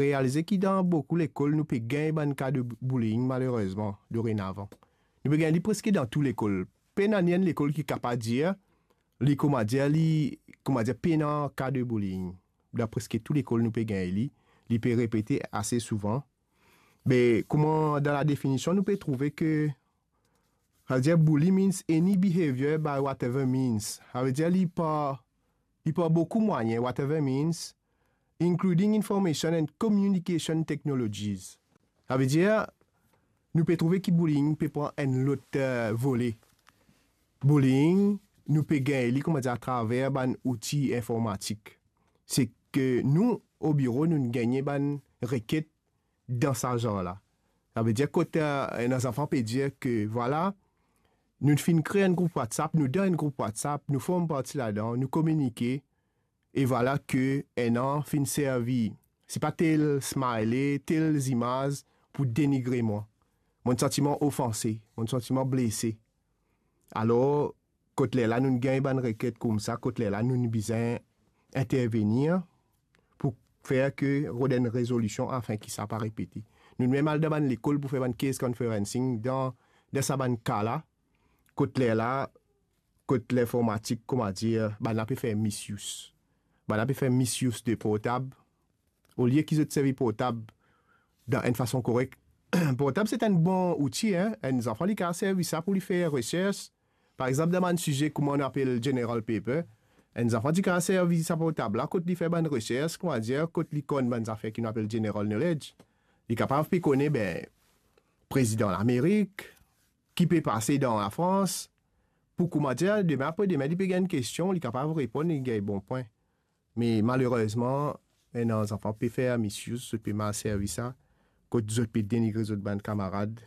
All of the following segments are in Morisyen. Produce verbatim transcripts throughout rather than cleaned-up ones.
realize ki dan boukou lekol nou pe gagn bann ka de bullying, malerezman, dorenavan. Nou pe gagn li preske dan tou lekol. Pena ni enn lekol ki kapav dir li, kouma dir, li, kouma dir, pena ka de bullying. Dan preske tou lekol nou pe gagn li, li pe repete ase souvan. Me kouma dan la definision nou pe trouve ke, savedir, bully means any behavior by whatever means. Savedir li par, li par boukou mwayin, whatever means, including information and communication technologies. Savedir, nou pe trouve ki bullying pe pran enn lot, eh, vole. Bullying, nou pe gagn li, kouma dir, atraver bann outi informatik. Se ke nou, o biro, nou gagne bann reket dan sa zar la. Savedir kot, eh, enn zanfan pe dir ke, vwala, nou finn kre enn group WhatsApp, nou dan enn group WhatsApp, nou form parti ladan, nou kominike, e vwala ke enn an finn servi, se pa tel smiley, tel zimaz pou denigre mwa. Mo santi mwa ofanse, mo santi mwa blese. Alor, kot lerla nou gagn bann reket koumsa, kot lerla nou bizin intervenir pou fer ke rod enn rezolision afin ki sa pa repete. Nou mem al dan bann lekol pou fer bann case conferencing dan, dan sa bann ka la, kot lerla, kot linformatik, kouma dir, bann la pe fer misuse. Bann la pe fer misuse de portab. Olie ki zot servi portab dan enn fason korek, portab se enn bon outi, hein. Enn zanfan, li kapav servi sa pou li fer resers. Par exanp, dan bann size kouma nou apel general paper, enn zanfan ti kapav servi sa portab la kot li fer bann resers, kouma dir, kot li konn bann zafer ki nou apel general knowledge. Li kapav pe kone, be, prezidan Lamerik, ki pe pase dan Lafrans, pou kouma dir, demin apre demin, li pe gagn kestion, li kapav reponn, li gagn bon pwin. Me malerezman, enn zanfan pe fer misuse, zot pe mal servi sa, kot zot pe denigre zot bann kamarad,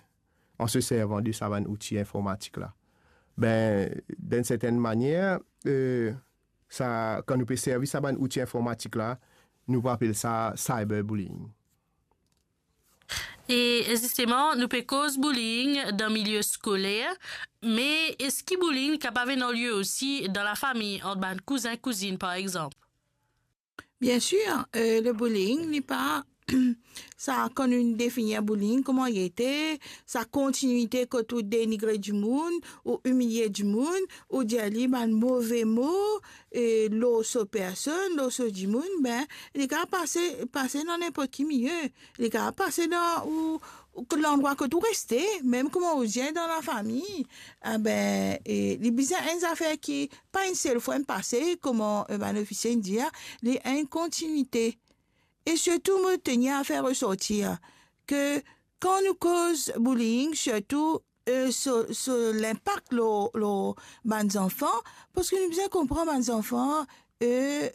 an se servan de sa bann outi informatik la. Be, dan enn sertenn manier, eh, sa, kan nou pe servi sa bann outi informatik la, nou pou apel sa cyberbullying. E zisteman, nou pe koz bullying dan milie skoler, me eski bullying li kapav ena lie osi dan lafami, ant bann kouzin, kouzinn, par exanp? Bien sûr, euh, le bullying, li pa, sa, kan nou definir bullying, kouma li ete, sa kontinuite kot ou denigre dimoun, ou imilie dimoun, ou dir li bann move mo, e lor so personn, lor so dimoun, be, li kapav pase, pase dan ninport ki milie. Li kapav pase dan ou, ou landrwa kot ou reste, mem kouma ou dir dan lafami. Ah be, e li bizin enn zafer ki pa enn sel fwa inn pase, kouma, eh, bann ofisie inn dir, li enn kontinuite. E sirtou, mo tenir a fer resortir ke kan nou koz bullying, sirtou, eh, so, so linpak lor, lor bann zanfan, parski nou bizin konpran bann zanfan, eh,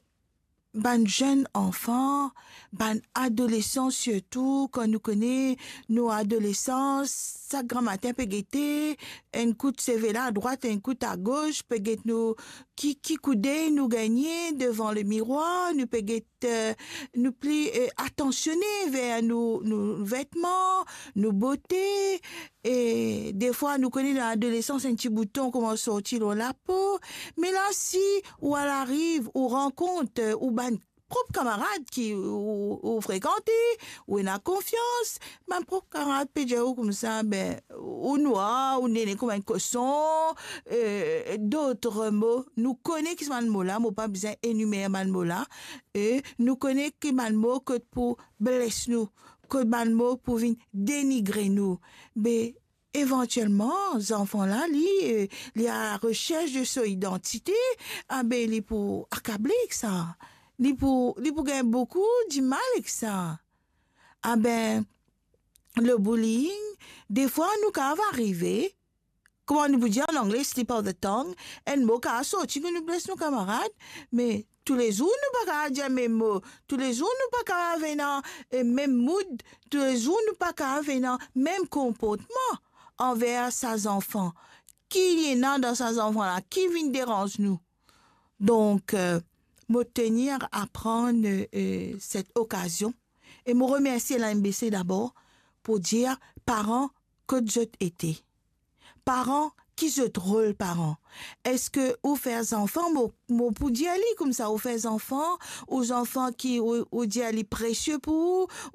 bann zenn anfan, bann adolesan sirtou, kan nou kone nou adolesan, sak gramatin pe gete, enn kout seve la adrwat, enn kout agos, pe get nou ki, ki koudey nou gagne devan lemirwar, nou pe get, eh, nou pli, eh, atansione ver nou, nou vetman, nou bote, e defwa nou kone dan adolesans enn ti bouton koumans sorti lor lapo, me la si ou al ariv, ou rankont, eh, ou bann prop kamarad ki ou, ou frekante, ou ena konfians, bann prop kamarad pe dir ou koumsa, be, ou nwar, ou nene kouma enn koson, eh, dot mo. Nou kone ki bann mo la, mo pa bizin enimer bann mo la, e nou kone ki bann mo kot pou bles nou, kot bann mo pou vinn denigre nou. Be, evantielman, zanfan la, li, eh, li a la resers de so idantite, ah be, li pou akable ek sa. Li pou, li pou gagn boukou dimal ek sa. Ah be, le bullying, defwa nou kapav arive, kouma nou pou dir an angle, slip of the tongue, enn mo kapav sorti ki nou bles nou kamarad, me toulezour nou pa kapav dir mem mo, toulezour nou pa kapav ena, eh, mem mood, toulezour nou pa kapav ena mem konportman anver sa zanfan. Ki li ena dan sa zanfan la? Ki vinn deranz nou? Donk, eh, mo tenir a pran, eh, set okazion e mo remersie la M B C dabor pou dir, paran, kot zot ete? Paran, ki zot rol paran? Eski ou fer zanfan, mo, mo pou dir li koumsa, ou fer zanfan, ou zanfan ki, ou, ou dir li presie pou ou,